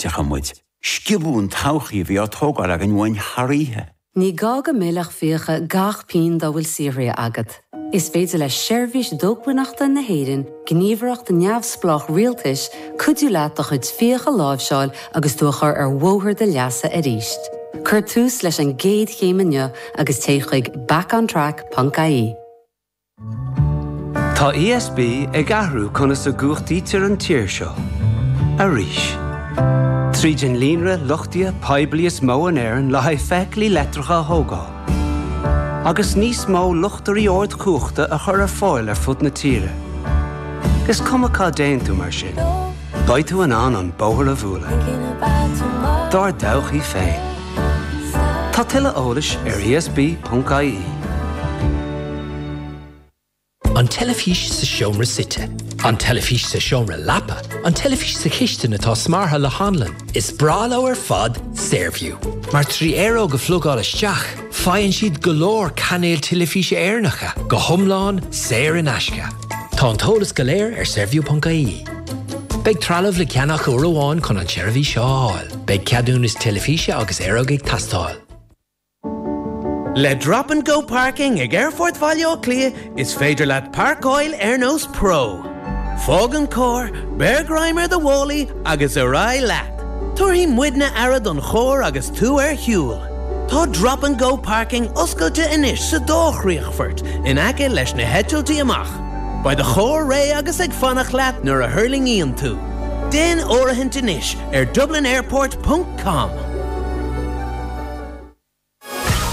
Déarfadh muid, Sciobadh an todhchaí a bhí á tógáil againn uainn thar oíche. Ní gá go millfeadh fiacha gach pingin dá bhfuil saothraithe agat. Is féidir le Seirbhís Dócmhainneachta na hÉireann, gníomhaireacht neamhspleách rialtais, cuidiú leat do chuid fiach a láimhseáil agus tú a chur ar bhóthar do leasa arís. Cuir tús leis an gcéad chéim inniu agus téigh chuig backontrack.ie. Tá ESB ag athrú conas a gcumhachtaítear an tír seo. Arís. Tríd an líonra luchtaithe poiblí is mó in Éirinn le haghaidh feithiclí leictreacha a thógáil. Agus níos mó luchtairí ardchumhachta a chur ar fáil ar fud na tíre. Is cuma cá dtéann tú mar sin, beidh tú in ann an bóthar a bhualadh. Dár dtodhchaí féin. Tá tuilleadh eolais ar esb.ie. An teilifís sa seomra suite. An teilifís sa seomra leapa. An teilifís sa chistin atá smeartha le hanlann. Is breá leo ar fad Saorview. Mar 3 aeróg a phlugáil isteach, faigheann siad go leor cainéil teilifíse Éireannacha, go hiomlán saor in aisce. Tá an t-eolas go léir ar saorview.ie. Beidh trealamh le ceannach uair amháin chun an tseirbhís seo a fháil. Beidh ceadúnas teilifíse agus aeróg ag teastáil. Le Drop and Go Parking ag Aerfort Bhaile Átha Cliath is féidir leat páirceáil ar nós pro. Fág an carr, beir greim ar do mhálaí agus ar aghaidh leat! Tabharfaidh muidne aire don charr agus tú ar shiúl. Tá Drop and Go Parking oscailte anois sa dá chríochfort in aice leis na heitiltí amach. Beidh do charr réidh agus ag fanacht leat nuair a thuirlingíonn tú. Déan áirithint anois ar dublinairport ponc com.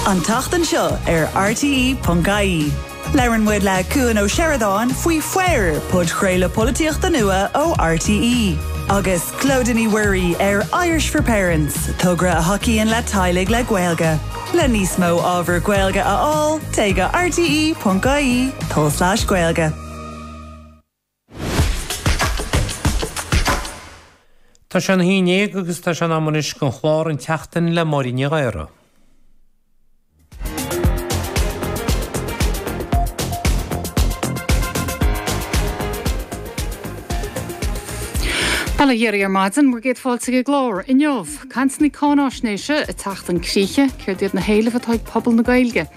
An tseachtain seo ar RTÉ.ie, labhrann muid le Cuan Ó Seireadáin faoi Faobhar, podchraoladh polaitíochta nua ó RTÉ, agus Clodagh Ní Mhuirí ar Irish for Parents, togra a thacaíonn le teaghlaigh le Gaeilge. Le níos mó ábhar Gaeilge a fháil, téigh go rte.ie tulslais Gaeilge. Tá sé ina haon dhéag agus tá sé in am anois don chlár An tSeachtain le Máirín Ní Ghadhra. Bail ó Dhia oraibh ar maidin, bhur gcéad fáilte chuig an gclár. Inniu, cainteanna cáináisnéise ag teacht chun críche, céard iad na héilimh atá ag pobal na Gaeilge?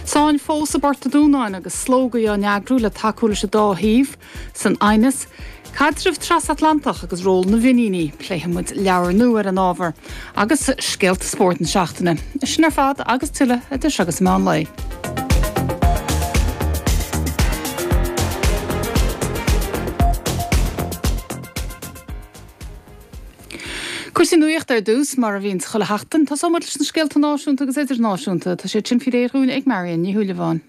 Sáinn fós i bPort an Dúnáin agus slógaí á n-eagrú le tacú leis an dá thaobh. San aighneas, Caidreamh trasatlantach agus ról na bhFiníní, pléifidh muid leabhar nua ar an ábhar, agus scéalta spóirt na seachtaine. Sin ar fad agus tuilleadh idir seo agus meán lae. Cúrsaí nuachta ar dtús, mar a bhíonns chuile sheachtain. Tosóidh muid leis na scéalta náisiúnta agus idirnáisiúnta. Tá siad sin faoi réir dhúinn ag Marion Ní Shúilleabháin.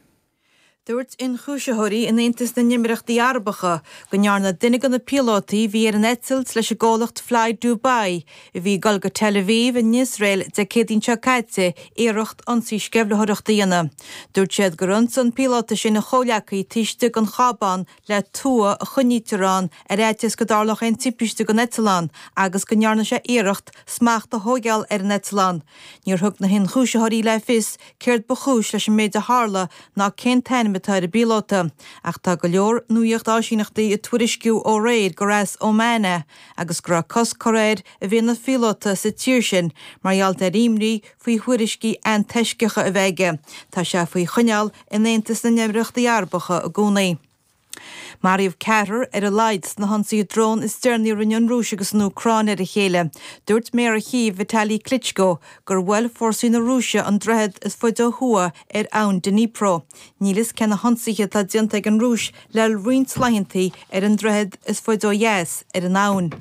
Dúirt ionchúisitheoirí in Aontas na nÉimíríochtaí Arabacha go ndearna duine de na píolótaí a bhí ar an eitilt leis an gcomhlacht Fly Dubai a bhí ag dul go Tel Aviv in Iosrael Dé Céadaoin seo caite iarracht ionsaí sceimhlitheoireachta a dhéanamh. Dúirt siad gur ionsaigh an píolóta sin a chomhghleacaí taobh istigh den chábán le tua a choinnítear ann ar fhaitíos go dtarlódh aon timpiste don eitleán agus go ndearna sé iarracht smacht a thóigeáil ar an eitleán. Níor thug na hionchúisitheoirí le fios céard ba chúis leis an méid a tharla ná cén t-ainm atá ar an bpíolóta, ach tá go leor nuacht áisíneachtaí ag tuairisciú ó aréir gur as Oman é agus go raibh cosc curtha air a bheith ina phíolóta sa tír sin mar gheall ar imní faoi thuairiscí antoisceacha a bheith aige. Tá sé faoi choinneáil in Aontas na nÉimíríochtaí Arabacha i gcónaí. Maraíodh ceathrar ar a laghad sna hionsaithe drón is deireanaí a rinne an Rúis agus an Úcráin ar a chéile. Dúirt Méara Chív, Vitali Klitschko, gur bhuail fórsaí na Rúise an droichead is faide ó thuaidh ar abhainn Dnipro. Níl fhios cé na hionsaithe atá déanta ag an Rúis le roinnt laethanta ar an droichead is faide ó dheas ar an abhainn.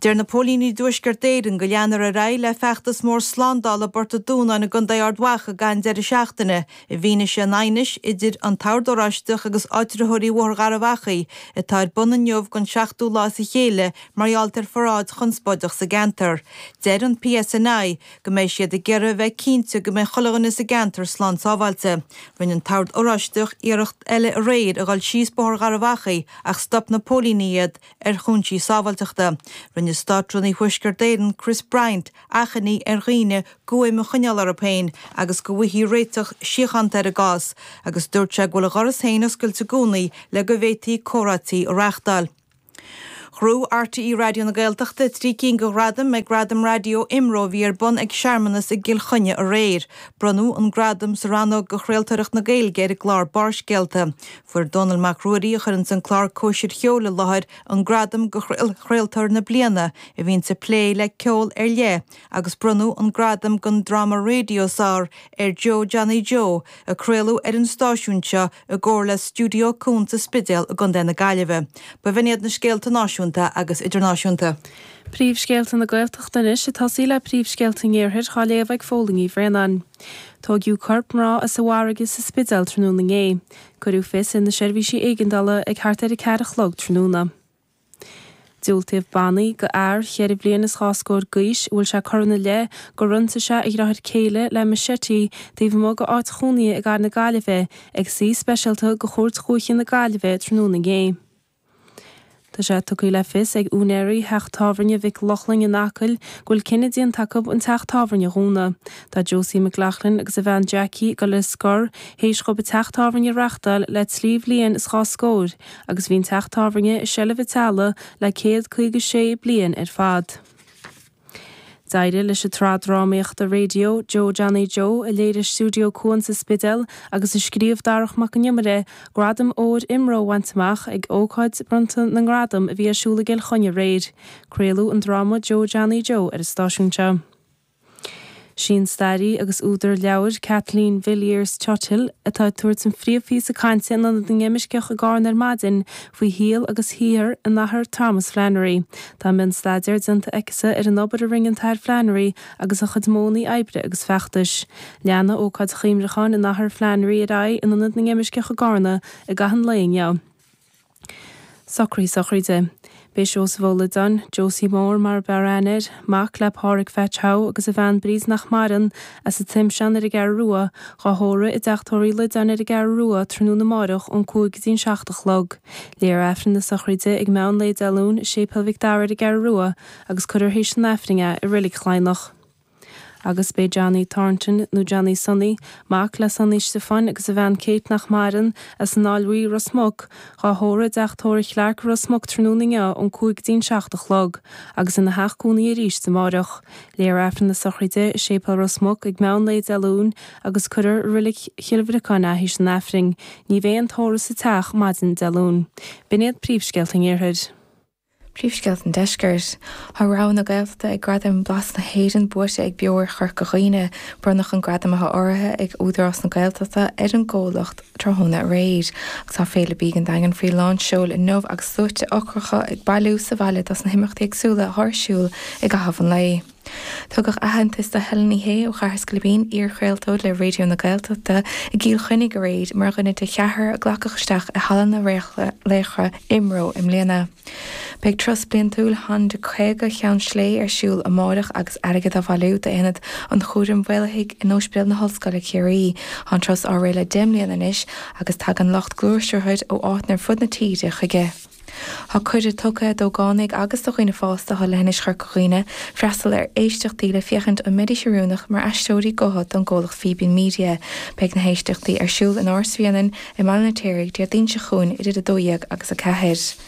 Deir na póilíní i dTuaisceart Éireann go leanfar ar aghaidh le feachtas mór slándála i bPort an Dúnáin i gContae Ard Mhacha i gcaitheamh an deireadh seachtaine i bhfianaise an aighnis idir an tOrd Oráisteach agus áitritheoirí Bhóthar Gharbh Achaidh atá ar bun inniu don seachtú lá as a chéile mar gheall ar pharáid chonspóideach sa gceantar. Deir an PSNI go mbeidh siad ag iarraidh a bheith cinnte go mbeidh chuile dhuine sa gceantar slán sábháilte. Rinne an tOrd Oráisteach iarracht eile aréir a dhul síos Bóthar Gharbh Achaidh ach stop na póilíní iad ar chúinsí sábháilteachta. Rinne Státrúnaí Thuaisceart Éireann Chris Bryant achainí ar dhaoine guaim a choinneáil orthu féin agus go bhfaighfí réiteach síochánta ar an gcás agus dúirt sé go bhfuil a dhoras féin oscailte i gcónaí le go bhféadfaí comhráití a reáchtáil. Ghnóthaigh RTÉ Raidió na Gaeltachta 3 cinn de ghradaim ag Gradaim Raidió IMRO a bhí ar bun ag searmanas i gCill Chainnigh aréir. Bronnadh an gradam sa rannóg do chraoltóireacht na Gaeilge ar an gclár Barrscéalta. Fuair Dónall Mac Ruairí, a chuireanns an clár Cóisir Cheoil i láthair, an gradam do Chraoltóir na Bliana, a bhíonns ag plé le ceol ar leith, agus bronnadh an gradam don dráma raidió is fhearr ar Joe Johnny Joe, a craoladh ar an stáisiún seo i gcomhar le Stiúideo Cuan sa Spidéal i gContae na Gaillimhe. B'in iad na scéalta náisiúnta agus idirnáisiúnta. Príomhscéalta na Gaeltachta anois ag tosaí le príomhscéalta an Iarthair á léamh ag Fódhla Ní Bhraonáin. Tóigeadh corp mná as an bhfarraige sa Spidéal tráthnóna inné. Cuireadh fios ar na seirbhísí éigeandála ag thart ar a ceathair a chlog tráthnóna. Diúltaíodh bannaí do fhear cheithre bliana is dhá scór d'aois a bhfuil sé curtha ina leith gur ionsaigh sé a dheartháir céile le machete taobh amuigh de áit chónaithe i gcathair na Gaillimhe ag suí speisialta de Chúirt Dhúiche na Gaillimhe tráthnóna inné. Tá sé tugtha le fios ag úinéirí theach tábhairne Mhic Lochlainn in Acaill go bhfuil cinneadh déanta acu an teach tábhairne a dhúnadh. Tá Josie McLaughlin agus a bhean Jackie ag dul ar scor théis dhóibh an teach tábhairne a reachtáil le trí bhliain is dhá scór agus bhí an teach tábhairne i seilbh an teaghlaigh le 156 bliain ar fad. D'éirigh leis an tsraith drámaíochta raidió Joe Johnny Joe, a léirigh Stiúideo Cuan sa Spidéal agus a scríobh Darach Mac an Iomaire, Gradam Óir IMRO a bhaint amach ag ócáid bronnta na ngradam a bhí ar siúl i gCill Chainnigh aréir. Craoladh an dráma Joe Johnny Joe ar an stáisiún seo. Sí an staraí agus údar leabhair Kathleen Villiers Tuthill atá ag tabhairt an phríomhphíosa cainte in Ionad na nImirceach i gCarna ar maidin faoi shaol agus shaothar an Athar Thomas Flannery. Tá mionstaidéar déanta aicise ar an obair a rinne an tAthair Flannery agus a chuid modhanna oibre agus feachtais. Leanfaidh ócáid chuimhneacháin an Athar Flannery ar aghaidh in Ionad na nImirceach i gCarna i gcaitheamh an lae inniu. Socruithe sochraide. Beidh Seosamh Ó Loideáin, Josie Mór mar ab fhearr aithne air, mac le Pádhraic Pheait Joe agus a bhean Bríd nach maireann, as an Toimsean ar an gCeathrú Rua, dhá thórramh i dteach tórraimh Uí Loideáin ar an gCeathrú Rua tráthnóna amáireach ón 5 go dtí an 7 a chlog. Léifear Aifreann na sochraide ag meán lae Dé Luain i Séipéal Mhic Dara ar an gCeathrú Rua agus cuirfear théis an Aifrinn é i Reilig Chladhnach. Agus b'é Johnny Thornton, nó Johnny Sonny, mac le Sonny Stiofáin agus a bhean Kate nach maireann, as an Fháil Bhuí, Ros Muc, dhá thórramh i dteach tórraimh Chlarke i Ros Muc tráthnóna inniu ón 5 go dtí an 7 a chlog, agus ina theach cónaí arís amáireach. Léifear Aifreann na sochraide i Séipéal Ros Muc ag meán lae Dé Luain agus cuirfear i Reilig Chill Bhriocáin é théis an Aifrinn. Ní bheidh aon tórramh sa teach maidin Dé Luain. B'in iad príomhscéalta an Iarthair. Príomhscéalta an Deiscirt. Tá rogha na Gaeltachta ag Gradaim Blas na hÉireann buaite ag Beoir Chorca Dhuibhne. Bronnadh an gradam atá urraithe ag Údarás na Gaeltachta ar an gcomhlacht tráthnóna aréir. Agus tá Féile Bídh an Daingin faoi lán seoil inniu agus sluaite ocracha ag bailiú sa bhaile dos na himeachtaí éagsúla atá ar siúl i gcaitheamh an lae. Tugadh aitheantas do Helen Ní Shé ó Chathair Scairbín, iar-chraoltóir le Raidió na Gaeltachta, i gCill Chainnigh aréir mar dhuine de cheathrar a glacadh isteach i Halla na Laochra IMRO i mbliana. Beidh turas bliantúil Honda 50 Cheann Slé ar siúl amáireach agus airgead á bhailiú d'Aonad an Chúraim Mhaolaithigh in Ospidéal na hOllscoile Ciarraí. Tá an turas á rith le 10 mbliana anois agus tagann lucht gluaisrothair ó áiteanna ar fud na tíre chuige. Tá cuireadh tugtha d'ógánaigh agus do dhaoine fásta atá leithinis Chorca Dhuibhne freastal ar éisteachtaí le féachaint an mbeidís oiriúnach mar aisteoirí gutha don gcomhlacht Fíbín Media. Beidh na héisteachtaí ar siúl in Áras Bhréanainn i mBaile an Fheirtéaraigh Déardaoin seo chugainn idir 12 agus 4.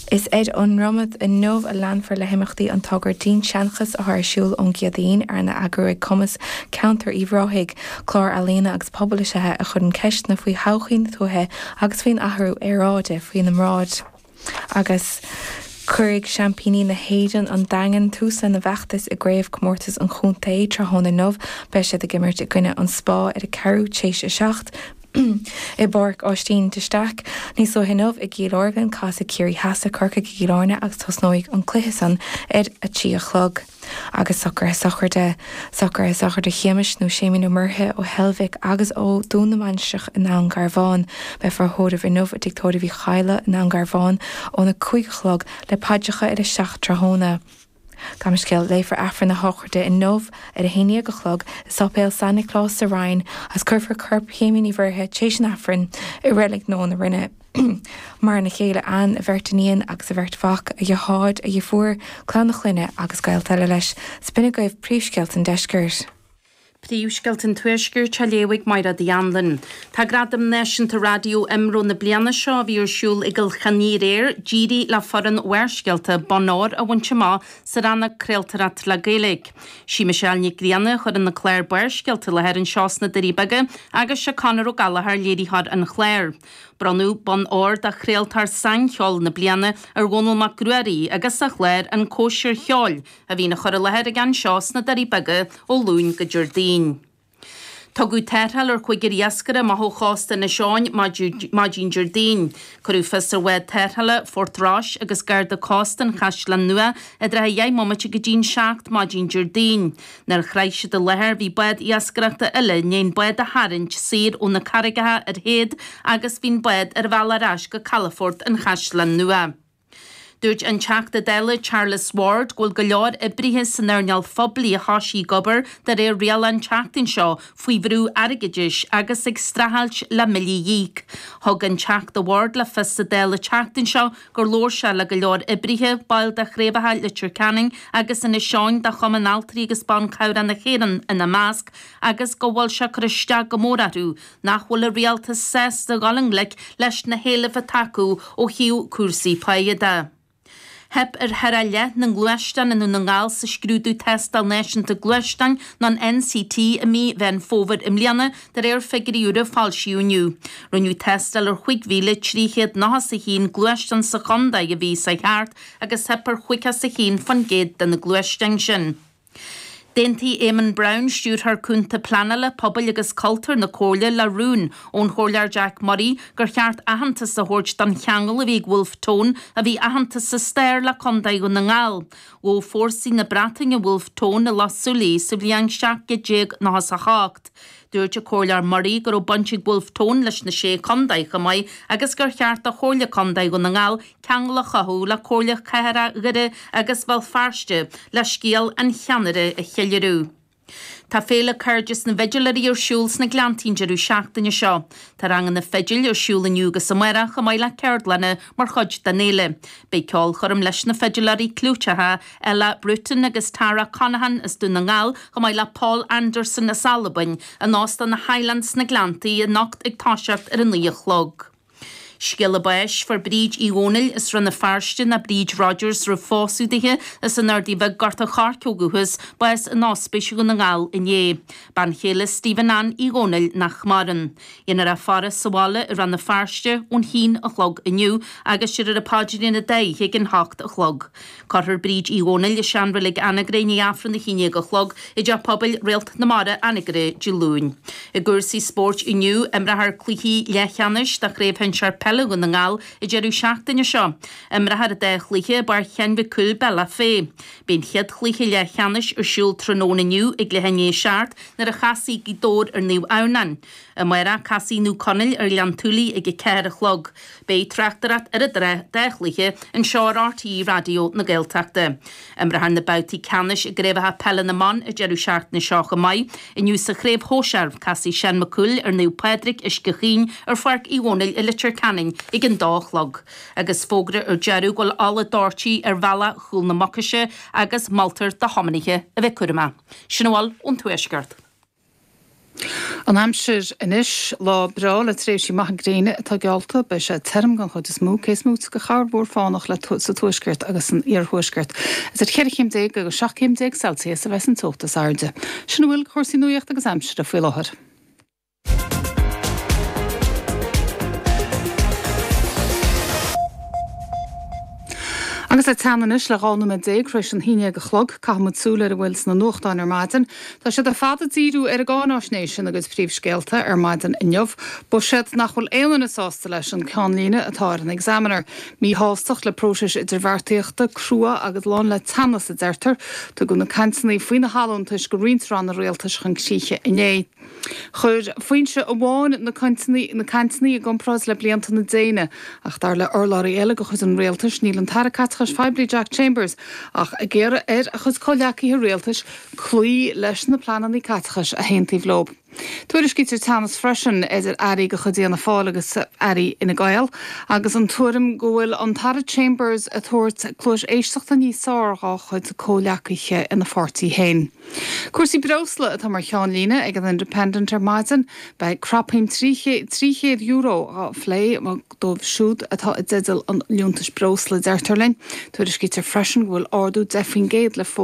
Is ar an nDromad inniu a leanfar le himeachtaí an togra Dinnseanchas atá ar siúl ón gCéadaoin, arna eagrú ag Cumas Ceantair Uíbh Ráthaigh. Clár ealaíona agus pobail is ea é a chuireann ceisteanna faoi thodhchaí na tuaithe agus faoin athrú aeráide faoina mbráid. Agus cuirfidh seaimpíní na hÉireann, an Daingean, tús lena bhfeachtas i gcraobhchomórtas an chontae tráthnóna inniu. Beidh siad ag imirt i gcoinne an Spá ar a ceathrú t'éis a 7 i bPáirc Áistín de Staic. Níos luaithe inniu i gCill Orglan, casfaidh Ciarraí Theas le Corcaigh i gCill Airne agus tosnóidh an cluiche san ar a 3 a chlog. Agus socruithe sochraide. Socruithe sochraide Shéamais nó Séimín Ó Murchadha ó Heilbhic agus ó Dún na Mainistreach i nDún Garbhán. Beifear á thórramh inniu i dTigh Tórraimh Uí Chadhla i nDún Garbhán óna 5 a chlog le paidreacha ar a 7 tráthnóna. Gabh mo leithscéal, léifear Aifreann na sochraide inniu ar a 11 a chlog i Sáipéal San Nioclás sa Rinn agus cuirfear corp Shéimín Uí Mhurchadha tar éis an Aifrinn i Reilig Nua na Rinne. Maireann a chéile Ann, a bheirt iníon agus a bheirt mhac, a dheartháir, a dheirfiúr, clann a chlainne agus gaolta eile leis. 'S b'in agaibh príomhscéalta an deiscirt. Príomhscéalta an Tuaiscirt á léamh ag Mairéad Uí Anluain. Tá Gradam Náisiúnta Raidió IMRO na bliana seo, a bhí ar siúl i gCill Chainnigh aréir, d'éirigh le foireann Bharrscéalta bonn óir a bhaint amach sa rannóg Craoltóireacht le Gaeilge. Sí Michelle Nic Grianna a chuireann an clár Barrscéalta i láthair anseo sna Doirí Beaga agus sé Conor Ó Gallchóir léiritheoir an chláir. Bronnadh bonn óir do Chraoltóir Saincheoil na Bliana ar Dhónall Mac Ruairí agus a chlár An Cóisir Cheoil, a bhíonn á chur i láthair aige anseo sna Doirí Beaga ó Luan go Déardaoin. Tugadh tarrtháil ar chúigear iascaire amach ó chósta Inis Eoghain maidin Déardaoin. Cuireadh fios ar bhád tarrthála Phort Rois agus Garda Cósta an Chaisleáin Nua i dtrátha dheich mbomaite go dtí'n 7 maidin Déardaoin. Nuair a shroich siad an láthair bhí bád iascaireachta eile i ndiaidh an bád a tharraingt saor ó na carraigeacha ar théad agus bhí an bád ar a bhealach ar ais go calafort an Chaisleáin Nua. Dúirt an Teachta Dála Charles Ward go bhfuil go leor oibrithe san earnáil phoiblí a thosaigh ag obair de réir riail an tseachtain seo faoi bhrú airgeadais agus ag streachailt le billí a íoc. Thug an Teachta Ward le fios sa Dáil an tseachtain seo gur labhair sé le go leor oibrithe, baill de chraobhacha Leitir Ceanainn agus Inis Eoghain de Chumann Altraí agus Ban Cabhrach na hÉireann ina measc, agus go bhfuil sé ag cur isteach go mór orthu nach bhfuil an rialtas sásta dhul i ngleic leis na héilimh atá acu ó thaobh cúrsaí páighe de. Theip ar thar a leath na ngluaisteán i nDún na nGall sa scrúdú Tástáil Náisiúnta Gluaisteáin nó an NCT i mí Mheán Fómhair i mbliana, de réir figiúirí úra a foilsíodh inniu. Rinneadh tástáil ar 5,391 gluaisteán sa chontae a bhí sa cheart agus theip ar 51% de na gluaisteáin sin. D'aontaigh Éamonn Brown, Stiúrthóir Cúnta Pleanála, Pobail agus Cultúir na Comhairle le rún ón Chomhairleoir Jack Murray gur cheart aitheantas a thabhairt don cheangal a bhí ag Wolfe Tone, a bhí aitheanta sa stair, le Contae Dhún na nGall. Ghabh fórsaí na Breataine Wolfe Tone i Loch Súilí sa bhliain 1798. Dúirt an Comhairleoir Murray go raibh baint ag Wolfe Tone leis na Sé Chontae chomh maith agus gur cheart do Chomhairle Contae Dhún na nGall ceangal a chothú le Comhairle Cathrach Dhoire agus Bhéal Feirste le scéal an cheannaire a cheiliúradh. Tá Féile Cairdeas na bhFidiléirí ar siúl sna Gleanntaí an deireadh seachtaine seo. Tá ranganna fidil ar siúl inniu agus amárach chomh maith le ceardlanna mar chuid den fhéile. Beidh ceolchoirm leis na fidiléirí clúiteacha Ella Bruton agus Tara Conaghan as Dún na nGall chomh maith le Paul Anderson as Albain in Óstán na Highlands sna Gleanntaí anocht ag toiseacht ar a 9 a chlog. Scéala báis, Fuair Bríd Uí Dhónaill as Rann na Feirste, nó Bríd Rogers roimh phósadh dithe, as an Ardaidh Bhig, Gort an Choirce ó dhúchas, bás in Ospís Dhún na nGall inné. Bean chéile Stephen Ann Uí Dhónaill nach maireann. Dhéanfar í a faire sa bhaile i Rann na Feirste ón haon a chlog inniu agus déarfar an paidrín an dá oíche ag an hocht a chlog. Cuirfear Bríd Uí Dhónaill i seanreilig Anagaire i ndiaidh Aifreann a haon déag a chlog i dTeach Pobail Réalt na Mara, Anagaire, Dé Luain. I gcúrsaí spóirt inniu, imreofar cluichí leathcheannais de Chraobh Shinsear Peile Dhún na nGall an deireadh seachtaine seo. Imreofar an dá chluiche i bPáirc Sheáin Mhic Cumhaill, Bealach Féich. Beidh an chéad chluiche leathcheannais ar siúl tráthnóna inniu ag leath i ndiaidh a 7 nuair a chasfaidh Gaoth Dobhair ar Naomh Adhamhnáin. Amárach, casfaidh Naomh Conaill ar Ghleann tSúilí ag a 4 a chlog. Beidh tráchtaireacht ar an dá chluiche anseo ar RTÉ Raidió na Gaeltachta. Imreofar na babhtaí ceannais i gcraobhacha peile na mban an deireadh seachtaine seo chomh maith. Inniu sa chraobh shóisear, casfaidh Seán Mac Cumhaill ar Naomh Pádraig, Uisce Chaoin ar Pháirc Uí Dhónaill i Leitir Ceanainn ag an dó a chlog. Agus fógra ar deireadh go bhfuil ola doirte ar bhealach Chúil na Mucaise agus moltar do thiománaithe a bheith cúramach. Sin a bhfuil ón Tuaisceart. An aimsir anois, lá breá le tréimhsí maithe gréine atá geallta. Beidh sé tirim den chuid is mó, cé is móite de chorrmhúr fánach le sa tuaisceart agus san iarthuaisceart. Idir cheithre chéim déag agus 17 chéim Celsius a bheas an teocht is airde. Sin a bhfuil de chúrsaí nuaíochta agus aimsire faoi láthair. Agus é teann anois le 12 nóiméad tar éis an haon déag a chlog, caithfidh muid súil ar a bhfuil sna nuachtáin ar maidin. Tá siad ar fad ag díriú ar an gcáináisnéis ina gcuid príomhscéalta ar maidin inniu. Buiséad nach bhfuil aon duine sásta leis an ceannlíne atá ar an Examiner. Míshástacht le próiseas idirbheartaíochta, crua agus lán le teannas, a deirtear. Tugadh na cainteanna faoi na halúntais go roinnt ranna rialtais chun críche inné. Chuir foinse amháin na cainteanna i gcomparáid le blianta na déine, ach dar le urlabhraí eile de chuid an rialtais, níl an tAire Caiteachais Phoiblí Jack Chambers ach ag iarraidh ar a chuid comhghleacaithe rialtais cloí leis na pleananna caiteachais a haontaíodh leo. Tuairiscítear teannas freisin idir airí de chuid Fhianna Fáil agus airí Fhine Gael agus an tuairim go bhfuil an tAire Chambers ag tabhairt cluais éisteachta níos fearr dhá chuid comhghleacaithe ina pháirtí féin. Cúrsaí breosla atá mar cheannlíne ag an Independent ar maidin. Beidh crapshuim €300 á phlé dóibh siúd atá i dteideal an liúntais breosla, deirtear linn. Tuairiscítear freisin go bhfuil ardú 10% le fógra.